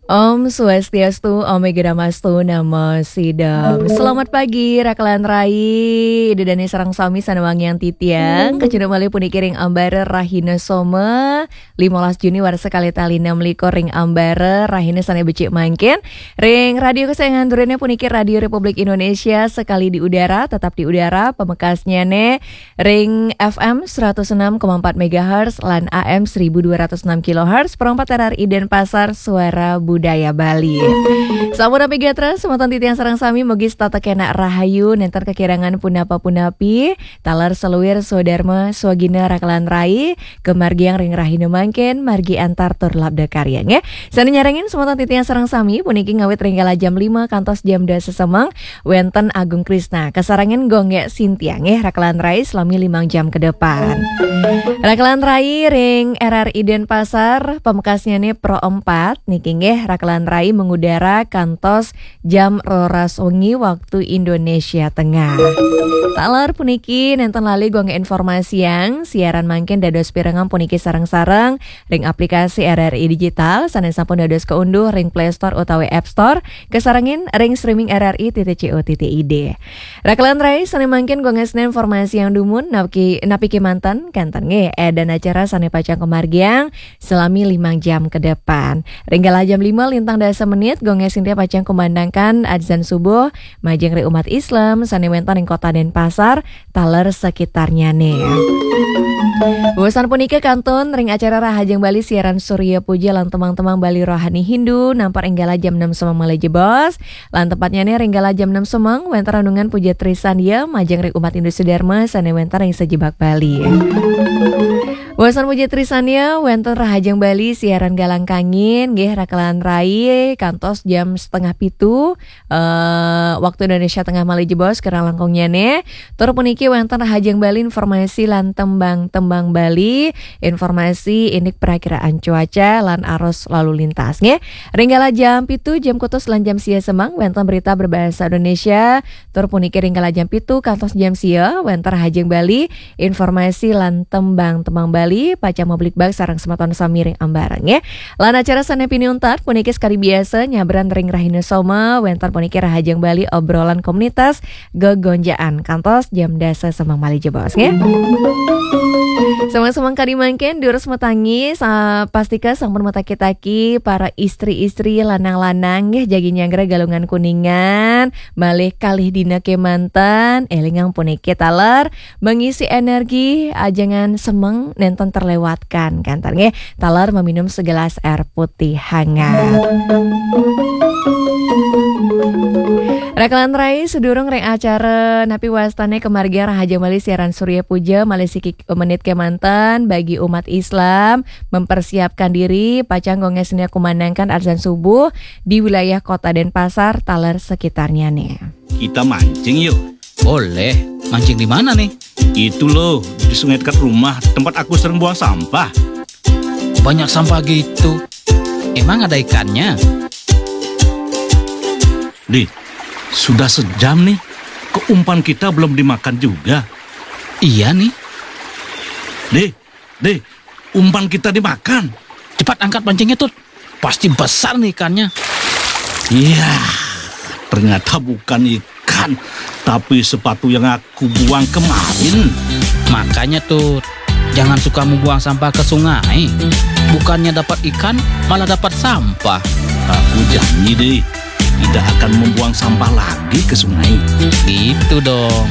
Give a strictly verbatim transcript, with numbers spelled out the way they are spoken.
Om Swastiastu, Om Awighnamastu, Namo Siddham. Selamat pagi, Rakalan Rai. Ida dané sareng sami sané wangiang titiang. Kacunduk malih puniki ring ambara rahina Soma, limolas Juni warsa kalih tali enam likur ring ambara rahina sané becik mangkin. Ring radio kesayangan duriné puniki Radio Republik Indonesia, sekali di udara, tetap di udara, pamekasnyané ring F M seratus enam koma empat megahertz lan A M seribu dua ratus enam kilohertz, Pro empat R R I Denpasar, Suara Budaya Bali. Sampun napi gatra, semeton titiang sareng sami mugi setata kenak rahayu, nénten kekirangan punapa-punapi, taler saluir swadarma, swagina Rakalan Rai, kamargiang ring rahina mangkin, margi antar tur labda karya, nggih. Sané nyarengin semeton titiang sareng sami, puniki ngawit ring kala jam lima kantos jam dasa semeng, wénten Agung Krisna. Kasarengin Gung Gék Sintia nggih, Rakalan Rai selami limang jam ke depan. Rakalan Rai ring R R I Denpasar, pamekasnyané Pro empat, niki nggih, Rakalan Rai mengudara kantos jam roras wengi waktu Indonesia Tengah. Taler puniki nénten lali Gung Gék informasiang, siaran mangkin dados pirengang puniki sareng-sareng ring aplikasi R R I Digital, sané sampun dados kaunduh ring Play Store utawi App Store, kasarengin ring streaming R R I titik C O titik I D. Rakalan Rai sané mangkin Gung Gék informasiang dumun, napi, napi kémanten, kénten nggih, édan acara sané pacang kamargiang selami limang jam ke depan. Ring kala jam lima lintang dasa menit, Gung Gék Sintia pacang kumandangkan adzan subuh, majeng ring umat Islam, sané wénten ring Kota Denpasar, taler sekitarnyané. Wusan punika kantun ring acara Rahajeng Bali siaran Surya Puja lan tembang-tembang Bali Rohani Hindu, nampar ring kala jam enam semeng malih jebos, lan tepatnyané ring kala jam enam semeng, wénten renungan Puja Trisandya, majeng ring umat Hindu Sidarma, sané wénten ring sajebag Bali. Wusan Puja Trisandya, wénten Rahajeng Bali siaran Galang Kangin, nggih, Rakalan Rai, kantos jam setengah pitu, eh, waktu Indonesia Tengah malih jebos, kirang langkungnyané. Tur puniki wénten Rahajeng Bali informasi lan tembang-tembang Bali, informasi indik perakiraan cuaca lan arus lalu lintas, nggih. Ring kala jam pitu, jam kutus lan jam sia semeng, wénten berita berbahasa Indonesia. Tur puniki ring kala jam pitu kantos jam sia, wénten Rahajeng Bali, informasi lan tembang-tembang Bali, pacang mabligbagan sareng semeton sami ring ambara, nggih. Lan acara sané pinih untat puniki sakadi biasa nyabran ring rahina Soma, wénten puniki Rahajeng Bali, obrolan komunitas, gegonjaan kantos jam dasa semeng malih jebos, nggih. Semeng-semeng kadi mangkin, durus matangi, sa-, pastika sampun mataki-taki para istri-istri, lanang-lanang, nggih, jagi nyanggra Galungan Kuningan, malih kalih dina kémanten, élingang puniki taler, mengisi energi, ajangan semeng nénten terlewatkan, kénten nggih, taler meminum segelas air putih hangat. Rakalan Rai, sedurung ring acara napi wastané kamargiang Rahajeng Bali siaran Surya Puja, malih siki menit kémanten bagi umat Islam mempersiapkan diri, pacang Gung Gék Sintia kumandangkan adzan subuh di wilayah Kota Denpasar, taler sekitarnyané. Kita mancing yuk. Boleh. Mancing di mana nih? Itu loh, di sungai dekat rumah, tempat aku sering buang sampah. Banyak sampah gitu. Emang ada ikannya? Di, sudah sejam nih, kok umpan kita belum dimakan juga? Iya nih. Di, di, umpan kita dimakan. Cepat angkat pancingnya, Tut. Pasti besar nih ikannya. Iya, ternyata bukan ikan, tapi sepatu yang aku buang kemarin. Makanya, Tut, jangan suka membuang sampah ke sungai. Bukannya dapat ikan, malah dapat sampah. Aku janji deh, tidak akan membuang sampah lagi ke sungai. Gitu dong.